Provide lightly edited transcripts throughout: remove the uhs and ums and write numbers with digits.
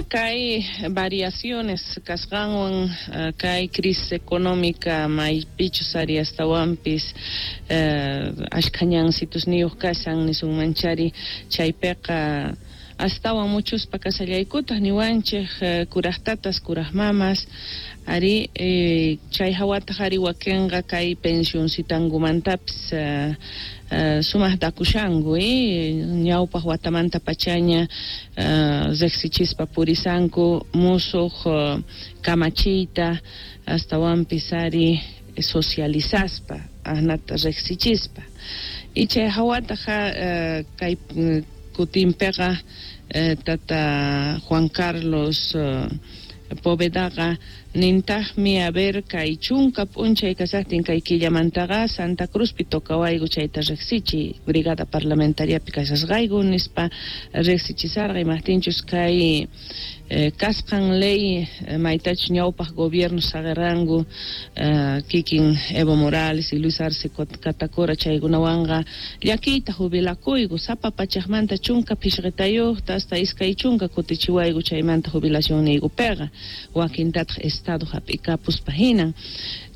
Kay variaciones kasqanwan kay crisis económica maypichus ari astawanpis ashkha ñansitusniyuq kashan nisunmanchari chaypiqa astawan muchuspa kashallaykutaq niwanchik kuraqtatas kuraq mamas ari chay hawataq ari wakinqa kay pensioncitankumantapis sumaq dakushanku ñawpaq watamanta pachaña riqsichispa purisanku musuq kamachiyta astawanpis ari socializaspa ahnata riqsichispa y chay hawataq kay kutinpiqa tata Juan Carlos Povedaqa nintaqmi a ver kay chunka p'unchay kasaqtin kay killamantaqa Santa Cruzpi tocawayku chayta riqsichiy brigada parlamentariapi kashasqayku nispa riqsichisarqa imaqtinchus kay kasqan ley maytachus ñawpaq gobierno saqirqanku kikin Evo Morales y Luis Arce Catacora chaykunawanqa llakiyta jubilakuyku sapa pachaqmanta chunka phishqitayuqta hasta iskay chunka kutichiwayku chaymanta jubilacionniykupiqa wakintataq Estado hap'ikapuspa hinan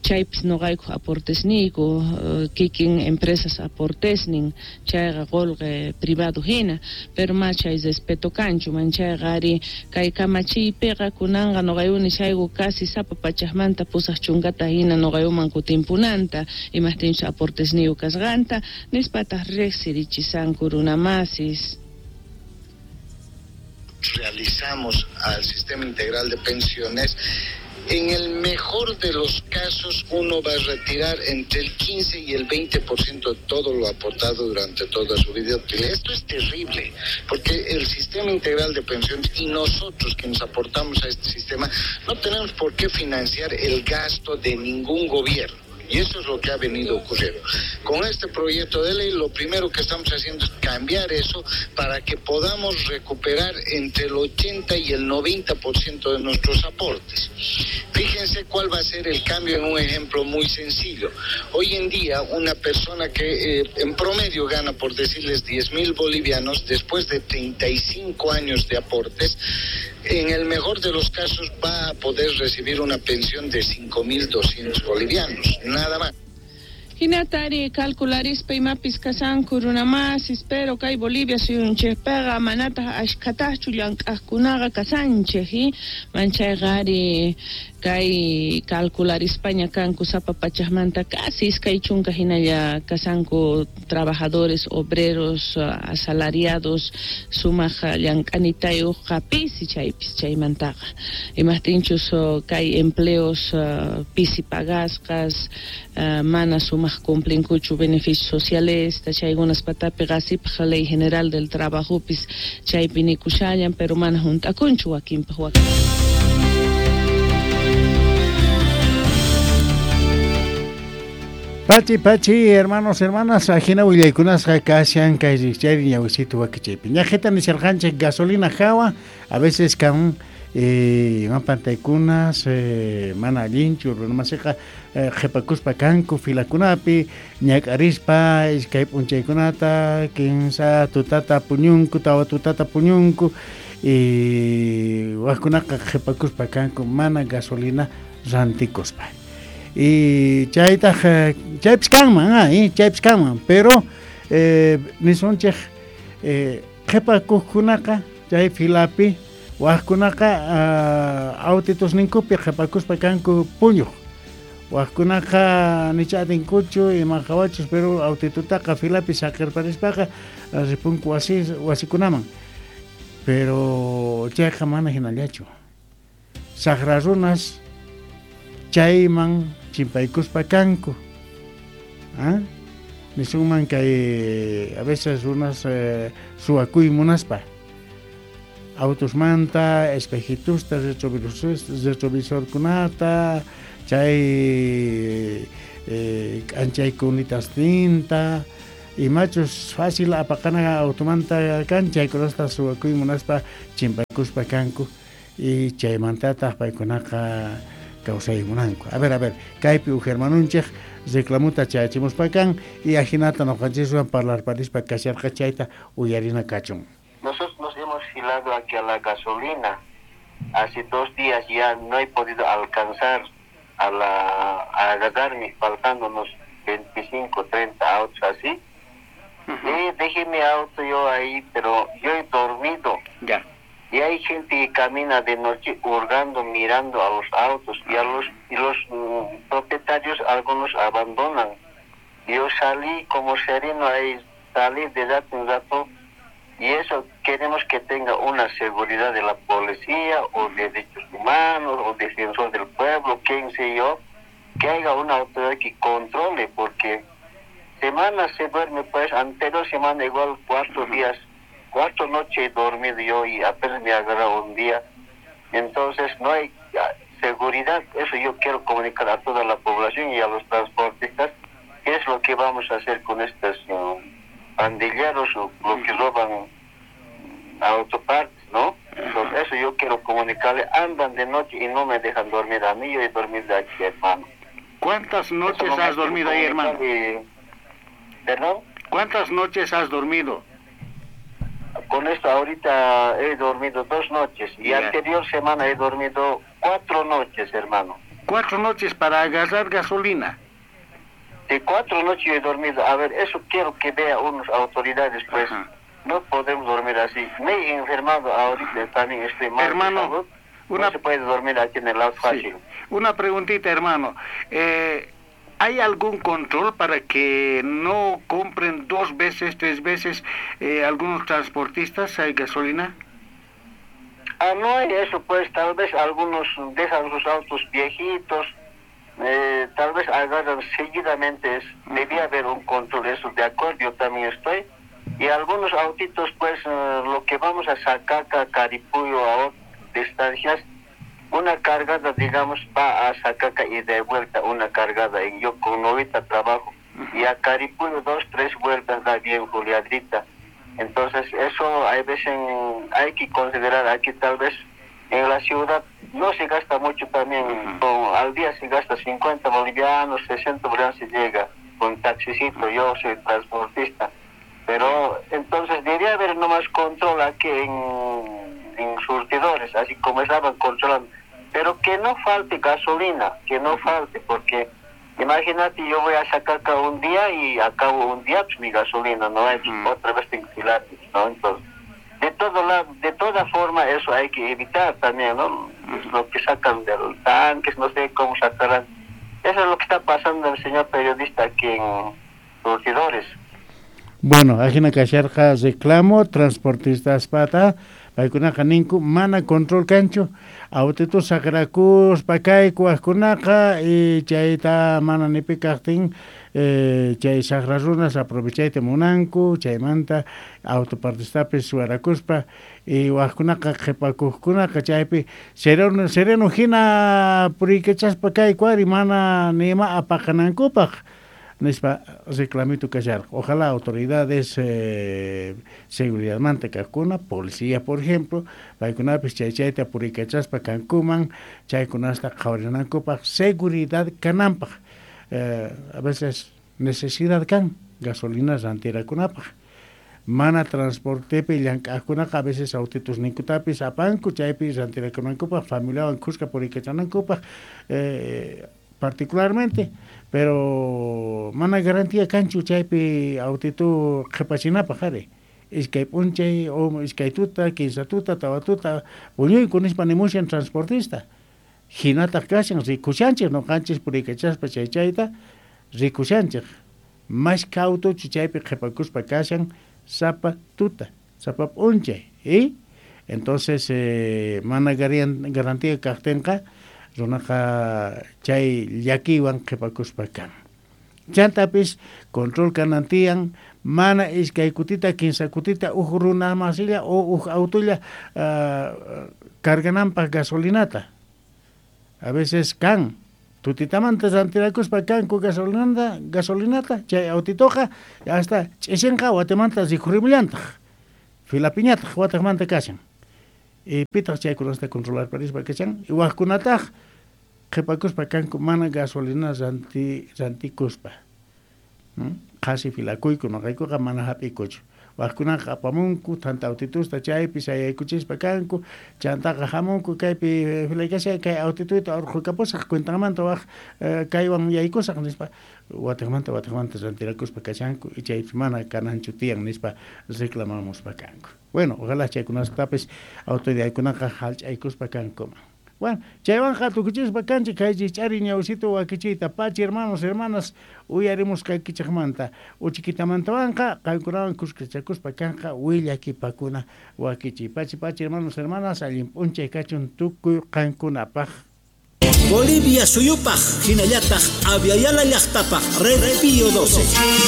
chaypis nuqayku aportesniyku kikin empresas aportesnin chayqa qullqi privado hina pero ma chay respeto kanchu manchayqa ari kay kamachiypiqa kunanqa nuqayku nishayku casi sapa pachaqmanta pusaq chunkata hina nuqaykuman kutinpunanta imaqtinchus aportesniyuq kasqanta nispataq riqsirichisanku runamasis. Realizamos al sistema integral de pensiones, en el mejor de los casos uno va a retirar entre el 15 y el 20% de todo lo aportado durante toda su vida útil. Esto es terrible, porque el sistema integral de pensiones y nosotros quienes aportamos a este sistema no tenemos por qué financiar el gasto de ningún gobierno. Y eso es lo que ha venido ocurriendo. Con este proyecto de ley, lo primero que estamos haciendo es cambiar eso para que podamos recuperar entre el 80 y el 90% de nuestros aportes. Fíjense cuál va a ser el cambio en un ejemplo muy sencillo. Hoy en día, una persona que en promedio gana, por decirles, 10.000 bolivianos, después de 35 años de aportes, en el mejor de los casos va a poder recibir una pensión de 5.200 bolivianos, nada más. Hinatari calcularispa imapis kasanku runamasis, pero kay Bolivia suyunchikpiqa manataq ashkhataqchu llank'aqkunaqa kasanchik, manchayqa ari kay calcularispaña kanku sapa pachaqmanta casi iskay chunka hinalla kasanku trabajadores, obreros, asalariados, sumaq llank'anitayuqqa pisi chaypis chaymantaqa. Imaqtinchus kay empleos pisi pagasqas, mana sumaq cumplinkuchu beneficios sociales, chaykunas patapi qasipaq Ley General del Trabajopis chaypi nikushallan, pero mana hunt'akunchu wakinpaq wakin. Pachi, pachi, hermanos, hermanas, ajina willaykunasqa kashan kay rikchayri ñawisitu wakichaypi. Ñaqhita nisharqanchik gasolina hawa, a veces kan pantaykunas mana allinchu runamasiqa qhipakuspa kanku filakunapi ñak'arispa iskay p'unchaykunata kinsa tutata puñunku tawa tutata puñunku y waqkunaqa qhipakuspa kanku mana gasolina rantikuspa. Y chaytaq chaypis kanman, chaypis kanman, pero nisunchik qhipakuqkunaqa chay filapi waqkunaqa autitusninkupi qhipakuspa kanku puñuq. Waqkunaqa nich'atinkuchu ima qhawachus, pero autitutaqa filapi saqirparispaqa ripunku wasikunaman. Pero chayqa mana hinallachu. Saqra runas chayman chimpaykuspa kanku. ¿Ah? Nisunman kay a veces runas suwakuy munaspa. Autusmanta, espejitusta, retrovisorkunata, chay k'anchaykunitasinta, imachus fácil apaqana automanta kan, chaykunasta suwakuy munaspa chimpaykuspa kanku, y chaymantataq paykunaqa kawsaymunanku. A ver, kaypi uj hermanunchik reclamuta chayachimuspa kan, y ajinata noqanchiswan parlarparispa kasharqa chayta uyarina kachun. Nosotros nos hemos filado aquí a la gasolina. Hace 2 días ya no he podido alcanzar a agarrarme, faltando unos 25, 30 autos así. Y dejé mi auto yo ahí, pero yo he dormido. Ya. Y hay gente que camina de noche hurgando, mirando a los autos, y a los propietarios algunos abandonan. Yo salí como sereno ahí, salí de rato en rato, y eso queremos que tenga una seguridad de la policía o de derechos humanos o defensor del pueblo, quién sé yo, que haya una autoridad que controle, porque semana se duerme, pues, anterior semana igual 4 días, 4 noches he dormido yo y apenas me agarró un día. Entonces no hay seguridad. Eso yo quiero comunicar a toda la población y a los transportistas, qué es lo que vamos a hacer con estos pandilleros o lo que roban autopartes, ¿no? Entonces, eso yo quiero comunicarle. Andan de noche y no me dejan dormir a mí, yo he dormido aquí, hermano. ¿Cuántas noches has dormido ahí, hermano? ¿Perdón? ¿Cuántas noches has dormido? Con esto ahorita he dormido 2 noches y anterior semana he dormido 4 noches, hermano. 4 noches para agarrar gasolina. De 4 noches he dormido. A ver, eso quiero que vea unas autoridades, pues. Ajá. No podemos dormir así. Me he enfermado ahorita, también estoy mal. Hermano, no se puede dormir aquí en el auto fácil. Sí. Una preguntita, hermano. ¿Hay algún control para que no compren 2 veces, 3 veces algunos transportistas hay gasolina? Ah, no hay eso, pues tal vez algunos dejan sus autos viejitos, tal vez agarran seguidamente. Debía haber un control, eso de acuerdo, yo también estoy. Y algunos autitos, pues lo que vamos a Sacaca, Caripuyo, a otras distancias, una cargada, digamos, va a Sacaca y de vuelta una cargada. Y yo con 90 trabajo. Y a Caripuyo 2, 3 vueltas da bien juliadita. Entonces, eso hay veces hay que considerar aquí, tal vez en la ciudad no se gasta mucho también. Al día se gasta 50 bolivianos, 60 bolivianos se llega con taxicito. Yo soy transportista. Pero entonces debería haber nomás control aquí en surtidores, así como estaban controlando. Pero que no falte gasolina, que no falte, porque imagínate, yo voy a sacar acá un día y acabo un día, pues mi gasolina no hay, pues, otra vez tengo que filar, ¿no? Entonces, de toda forma eso hay que evitar también, ¿no? Lo que sacan de los tanques, no sé cómo sacarán. Eso es lo que está pasando el señor periodista aquí en surtidores. Bueno, ajina kasharqa reclamo transportistas pata, paykunaqa ninku mana control kanchu, autitu saqrakuspa kayku wajkunaqa y chayta mana nipi kaqtin chay saqra runas aprovechayta munanku, chaymanta autopartistapis suwarakuspa y wajkunaqa qhipakuqkunaqa chaypi sereno sereno hina puriykachaspa kayku ari mana nima apaqanankupaq. Nispa reclamito kasharqa. Ojalá autoridades seguridad manta kaqkuna, policía por ejemplo, paykunapis chay chayta puriykachaspa kankuman, chaykunasta qhawarinankupaq seguridad kananpaq. A veces necesidad kan gasolina rantirakunapaq. Mana transportepi llank'aqkunaqa a veces autitus ninkutapis apanku chaypi rantirakunankupaq, familiawan khuska puriykachanankupaq, particularmente, pero mana garantía kanchu chaypi autitu qhipachinapaq ari. Iskay p'unchay o iskay tuta, kinsa tuta, tawa tuta, puñuyku nispa nimushan transportista. Hinataq kashan rikushanchik noqanchis puriykachaspa chay chayta rikushanchik. Mashka autuchu chaypi qhipakuspa kashan sapa tuta, sapa p'unchay, ¿eh? Entonces mana garantía kaqtinqa runaqa chay llakiwan qhipakuspa kan. Chantapis control kanantiyan mana iskay kutita kinsa kutita uj runa masilla o uj autolla cargananpaq gasolinata. A veces kan tutitamanta rantirakuspa kanku gasolinata chay autitoqa hasta ch'isinqa watimanta rikhurimllantaq filapiñataq wataqmanta kashan. Y pitaq chaykunasta controlar parispa kashan y wajkunataq qhipakuspa kanku mana gasolina rantikuspa. Qhasi filakuyku noqaykuqa mana hap'ikuchu. Wajkunaqa apamunku thanta autitusta chaypi sayaykuchispa kanku, chantaqa hamunku kaypi filaykashay kay autituyta urqhukapusaq cuentanmanta waj kaywan yaykusaq nispa watiqmanta rantirakuspa kashanku y chaypis mana kananchu tiyan nispa reclamamuspa kanku. Bueno, ojalá chaykunastapis autoridadkunaqa hallch'aykuspa kankuman. Bueno, chaywanqa tukuchispa kanchik kay ch'ari ñawsito wakichiyta pachi hermanos, hermanas uyarimusqaykichikmanta uchikitamantawanqa qankunawan kuskachakuspa kanqa willakipakuna wakichiy. Pachi pachi hermanos, hermanas, allin p'unchay kachun tukuy qankunapaq. Bolivia suyupaq hinallataq Abya Yala llaqtapaq Red Pío 12.